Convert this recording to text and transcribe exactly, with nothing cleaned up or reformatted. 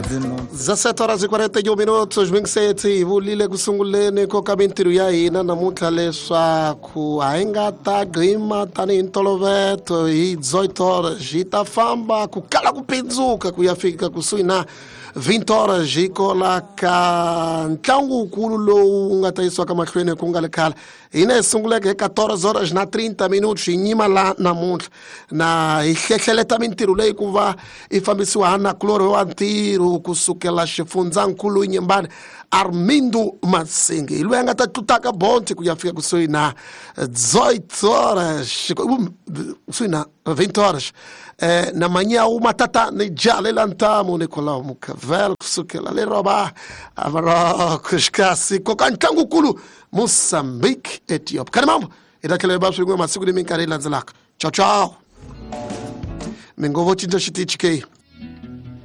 dezessete horas e quarenta e um minutos mingiseti hi vulile ku sunguleni ko ka mintirho ya hina namuntlha leswaku a hi nga ta gqima tanihi ntolovelo hi dezoito horas hi ta famba ku kala ku pindzuka ku ya fika kusuhi na vinte horas hi kola ka ntlangu wukulu lowu nga ta yisiwaka mahlweni ku nga le khale hina hi sunguleke hi quatorze horas na trinta minutos hi nyima la namuntlha na hi hlehleleta mintirho leyi ku va yi fambisiwa ha nakulorhi wa ntirho kusukela xifundzankulu Inhambane Armindo Masingi hi loyi a nga ta tlutaka bonti ku ya fika kusuhi na dezoito horas kusuhi na vinte horas eh, na manhã uma tata ni jale ntamu Nicolau Mucavel kusukela le Rabat a Marrocos kasi koka ntlangu kulu Moçambique Ethiopia kani mambo hi ta tlhela hi va swin'we masiku ni minkarhi yi landzelaka ciao ciao mi ngo vo cinca xitichi ke.